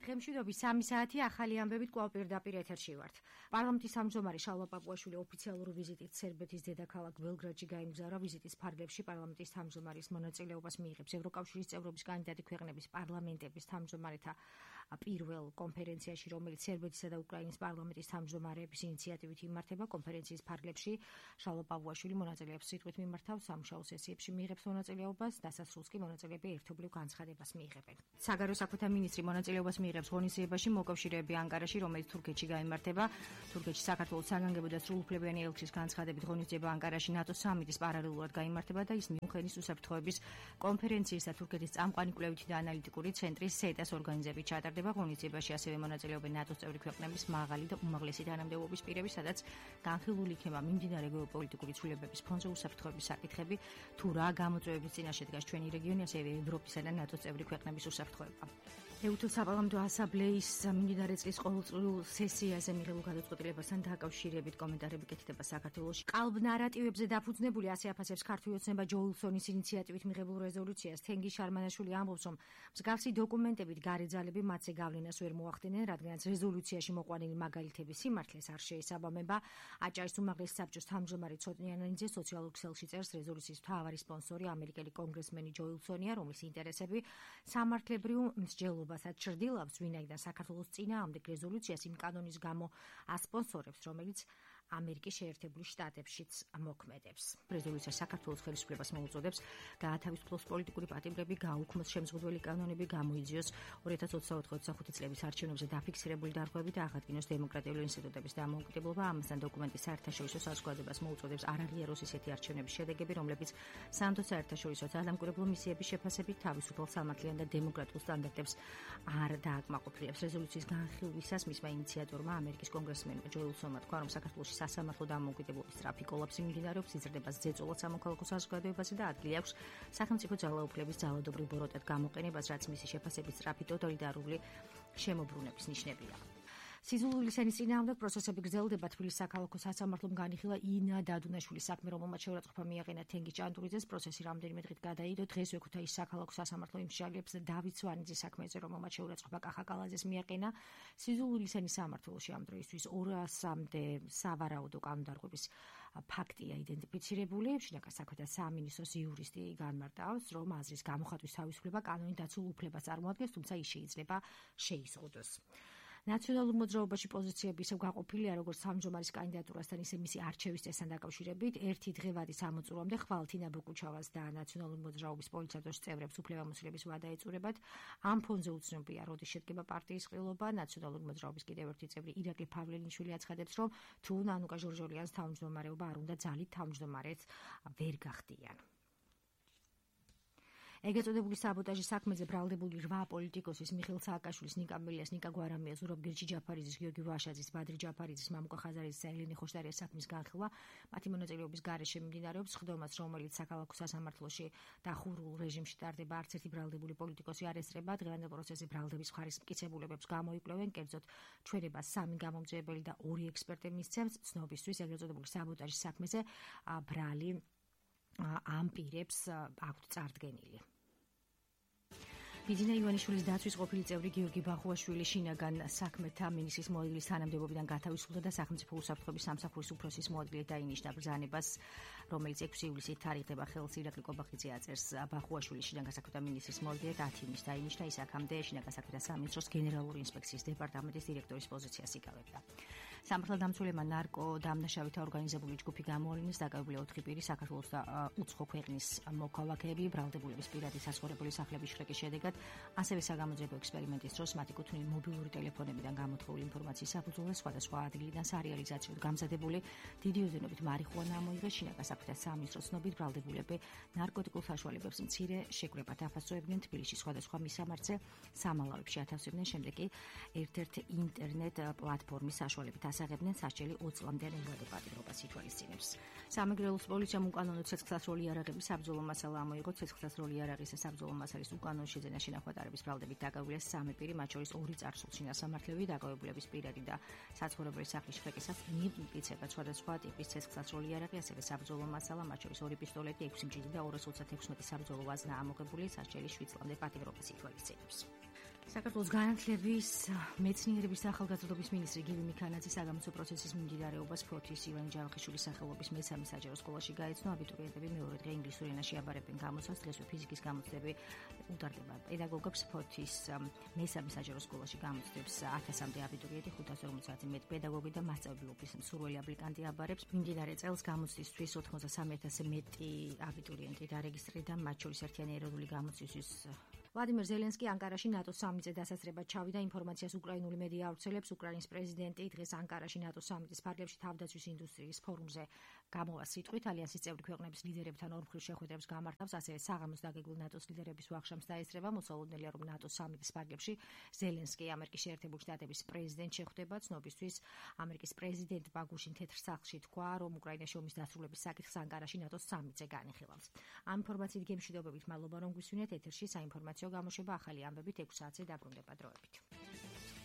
დღემშვიდობის 3 საათი ახალი ამბებით კვლავ პირდაპირ ეთერში ვართ. პარლამენტის თავმჯდომარე შალვა პაპუაშვილი ოფიციალური ვიზიტით სერბეთის დედაქალაქ ბელგრადში გაემგზავრა. ვიზიტის ფარგლებში პარლამენტის თავმჯდომარის მონაწილეობას მიიღებს ევროკავშირის წევრობის კანდიდატი ქვეყნების პარლამენტების თავმჯდომარეთა პირველ კონფერენციაში, რომელიც სერბეთისა და უკრაინის პარლამენტის თავმჯდომარეების ინიციატივით იმართება. კონფერენციის ფარგლებში შალვა პაპუაშვილი მონაწილეებს სიტყვით მიმართავს, სამუშაო სესიებში მიიღებს მონაწილეობას, დასასრულს კი მონაწილეები ერთობლივ განცხადებას მიიღებენ. საგარეო საქმეთა მინისტრი მონაწილეობას მიიღებს ღონისძიებაში მოკავშირეები ანკარაში, რომელიც თურქეთში გაიმართება. თურქეთში საქართველოს საგანგებო და სრულუფლებიანი ელჩის განცხადებით ღონისძიება ანკარაში ნატოს სამიტის პარალელურად გაიმართება და ის მიუნხენის უსაფრთხოების კონფერენციის და თურქეთის წამყვანი კვლევითი და ანალიტიკური ცენტრის სეტას ორგანიზებით ჩატარდება. ღონისძიებაში ასევე მონაწილეობენ ნატოს წევრი ქვეყნების მაღალი და უმაღლესი თანამდებობის პირები, სადაც განხილული იქნება მიმდინარე გეოპოლიტიკური ცვლილებების ფონზე უსაფრთხოების საკითხები, თუ რა გამოწვევების წინაშე დგას ჩვენი რეგიონი, ასევე ევროპისა და ნატოს წევრი ქვეყნების უსაფრთხოება. ეუთო საპარლამენტო ასამბლეის მიმდინარე წლის ყოველწლიურ სესიაზე მიღებულ გადაწყვეტილებასთან დაკავშირებით კომენტარები კეთდება საქართველოში. კალბ ნარატივებზე დაფუძნებული ასე აფასებს ქართული ოცნება ჯო უილსონის ინიციატივით მიღებულ რეზოლუციას. თენგიზ შარმანაშვილი ამბობს, რომ მსგავსი დოკუმენტებით გარე ძალები მათზე გავლენას ვერ მოახდენენ, რადგანაც რეზოლუციაში მოყვანილი მაგალითების სიმართლეს არ შეესაბამება. აჭარის უმაღლესი საბჭოს თავმჯდომარე ცოტნიანიძე სოციალურ ქსელში წერს, რეზოლუციის მთავარი სპონსორი ამერიკელი კონგრესმენი ჯო უილსონია, რომლის ინტერესები სამართლებრივ მსჯელობასაც ჩრდილავს, ვინაიდან საქართველოს წინააღმდეგ რეზოლუციას იმ კანონის გამო ასპონსორებს, რომელიც ამერიკის შეერთებული შტატებშიც მოქმედებს. რეზოლუცია საქართველოს ხელისუფლებას მოუწოდებს გაათავისუფლოს პოლიტიკური პატიმრები, გააუქმოს შემზღუდველი კანონები, გამოიძიოს 2024-25 წლების არჩევნებზე დაფიქსირებული დარღვევები და აღადგინოს დემოკრატიული ინსტიტუტების დამოუკიდებლობა. ამასთან დოკუმენტი საერთაშორისო საზოგადოებას მოუწოდებს არ აღიაროს ისეთი არჩევნების შედეგები, რომლებიც სამთო საერთაშორისო ძალამკვირვებლო მისიების შეფასებით თავისუფალ, სამართლიან და დემოკრატიულ სტანდარტებს არ დააკმაყოფილებს. რეზოლუციის განხილვისას მისმა ინიციატორმა ამერიკის კონგრესმენმა ჯო უილსონმა თქვა, რომ საქართველოს სასამართლო დამოუკიდებლობის სწრაფი კოლაფსი მიმდინარეობს, იზრდება ზეწოლად სამოქალაქო საზოგადოებაზე და ადგილი აქვს სახელმწიფო ძალაუფლების ძალადობრივ ბოროტად გამოყენებას, რაც მისი შეფასებით სწრაფი ტოტალიტარული შემოbrunების ნიშნებია. სიზულულის ენის წინააღმდეგ პროცესები გრძელდება. თბილისის საქალაქო სასამართლომ განიხილა ინა დადუნაშვილის საქმე, რომელმაც შეურაცხყოფა მიაყენა თენგიზ ჭანტურიძეს. პროცესი რამდენიმე დღით გადაიდო. დღეს ვექუთაის საქალაქო სასამართლო იმსჯელებს დავით სვანიძის საქმეზე, რომელმაც შეურაცხყოფა კახა კალაძეს მიაყენა. სიზულულის ენის სამმართველოში ამ დროისთვის 200-მდე სავარაუდო კანონდარღვევის ფაქტია იდენტიფიცირებული. შინაგან საქმეთა სამინისტროს იურისტი განმარტავს, რომ აზრის გამოხატვის თავისუფლება კანონით დაცულ უფლებას წარმოადგენს, თუმცა ის შეიძლება შეიზღუდოს. ნაციონალურ მოძრაობაში პოზიციები ისევ გაყოფილია, როგორც თავმჯდომარის კანდიდატურასთან, ისე მისი არჩევის წესთან დაკავშირებით. ერთი დღევადი სამოწურვამდე ხვალთინა ბოკუჩავას და ნაციონალური მოძრაობის პოლიცადოს წევრებს უფლებამოსილების ვადა ეწურებათ. ამ ფონზე უცნობია, როდის შედგება პარტიის ყრილობა. ნაციონალური მოძრაობის კიდევ ერთი წევრი ირაკლი ფავლელიშვილი აცხადებს, რომ თუ ნანუკა ჟორჟოლიანს თავმჯდომარეობა არ უნდა ძალით თავმჯდომარეს ვერ გახდიან. ეგრეთ წოდებული საბოტაჟის საქმეზე ბრალდებული 8 პოლიტიკოსის მიხეილ სააკაშვილის, ნიკა მელიას, ნიკა გვარამიას, ზურაბ გირჩი ჯაფარიძის, გიორგი ვაშაძის, ბადრი ჯაფარიძის, მამუკა ხაზარიძის და ელენე ხოშტარიას საქმის განხილვა მათი მონაწილეობის გარეშე მიმდინარეობს. ხდომას, რომელიც საქალაქო სასამართლოში დახურულ რეჟიმში ტარდება, არც ერთი ბრალდებული პოლიტიკოსი არ ესწრება. დღევანდელ პროცესზე ბრალდების მხარის მტკიცებულებებს გამოიკვლევენ, კერძოდ ჩვენებას 3 გამომძიებელი და 2 ექსპერტი მისცემს. ცნობისთვის ეგრეთ წოდებული საბოტაჟის საქმეზე ბრალი ამ პირებს აქვთ წარდგენილი. ბიძინა ივანიშვილის დაცვის ყოფილი წევრი გიორგი ბახუაშვილი შინაგან საქმეთა მინისტრის მოადგილის თანამდებობიდან გათავისუფლდა და სახელმწიფო უსაფრთხოების სამსახურის უფროსის მოადგილედ დაინიშნა. ბრძანებას, რომელიც 6 ივლისით თარიღდება ხელს, ირაკლი კობახიძე აწერს. ბახუაშვილი შინაგან საქმეთა მინისტრის მოადგილედ 10 ივნისს დაინიშნა. ის აქამდე შინაგან საქმეთა სამინისტროს გენერალური ინსპექციის დეპარტამენტის დირექტორის პოზიციას იკავებდა. სამართალდამცველებმა ნარკო დამნაშავითა ორგანიზებული ჯგუფი გამოავლინეს. დაკავებულია 4 პირი, საქართველოს და უცხო ქვეყნის მოქალაქეები, ბრალდებულების პირადი საცხოვრებელი სახლების შრეკის შედეგად, ასევე საგამოძიებო ექსპერიმენტის დროს მათი კუთვნილი მობილური ტელეფონებიდან გამოთხოვილი ინფორმაციის საფუძველზე სხვადასხვა ადგილიდან სარეალიზაციოდ გამზადებული დიდი ოდენობით მარიხუანა ამოიღეს. შინაგან საქმეთა სამინისტროს ცნობით, ბრალდებულები ნარკოტიკულ საშუალებებს მცირე შეკრებად აფასოებდნენ. თბილისში სხვადასხვა მისამართზე სამალავებში ათავსებდნენ, შემდეგ კი ერთ-ერთ ინტერნეტ პლატფორმის საშუალებით ასაღებდნენ. სასჯელი 20 წლამდე ნებადო პატიმრობას ითვალისწინებს. სამეგრელოს პოლიციამ უკანონო ცეცხლსასროლი იარაღების საბრძოლო მასალა ამოიღო. ცეცხლსასროლი იარაღის საბრძოლო მასალის უკანონო შეძენა შენახვატარების ბრალდებით დაკავებულია 3 პირი, მათ შორის 2 წარსულში ასამართლები. დაკავებულების პირადი და საცხოვრებელი სახლის შრეკისას მიემტკიცება სხვადასხვა ტიპის ცეცხლსასროლი იარაღი, ასევე საბრძოლო მასალა, მათ შორის 2 პისტოლეტი, 6 მჭიდი და 236 საბრძოლო ვაზნა ამოღებული. სასჯელი 7 წლამდე პატიმრობას ითვალისწინებს. საქართველოს განათლების, მეცნიერების და ახალგაზრდობის მინისტრი გივი მიქანაძე საგამოცდო პროცესის მიმდინარეობას ფოთის ივანე ჯავახიშვილის სახელობის მესამე საჯარო სკოლაში გაეცნო. აბიტურიენტები მეორე დღე ინგლისურ ენაში აბარებენ გამოცდას. დღესვე ფიზიკის გამოცდები უტარდება. პედაგოგებს ფოთის მესამე საჯარო სკოლაში გამოცდებს 1000-მდე აბიტურიენტი, 550-ზე მეტ პედაგოგი და მასწავლებლობის მსურველი აპლიკანტი აბარებს. მიმდინარე წელს გამოცდისთვის 93,000-ზე მეტი აბიტურიენტი დარეგისტრირდა, მათ შორის ერთიანი ეროვნული გამოცდისთვის ვლადიმერ ზელენსკი ანკარაში ნატოს სამიტზე დასასწრებად ჩავიდა. ინფორმაციას უკრაინული მედია ავრცელებს. უკრაინის პრეზიდენტი დღეს ანკარაში ნატოს სამიტის ფარგლებში თავდაცვის ინდუსტრიის ფორუმზე გამოვა სიტყვით. ალიანსის წევრი ქვეყნების ლიდერებთან ორმხრივ შეხვედრებს გამართავს. ასევე საღამოს დაგეგმილ ნატოს ლიდერების ვახშამს დაესწრება. მოსალოდნელია, რომ ნატოს სამიტის ფარგლებში ზელენსკი ამერიკის შეერთებული შტატების პრეზიდენტს შეხვდება. ცნობისთვის ამერიკის პრეზიდენტმა გუშინ თეთრ სახლში თქვა, რომ უკრაინაში ომის დასრულების საკითხს ანკარაში ნატოს სამიტზე განიხილავს. ამ ინფორმაციით გემშვიდობებით მადლობა, რომ გვისვინეთ. ეთერში საინფორმაციო გამოშვება ახალი ამბებით 6 საათზე დაბრუნდება დროებით.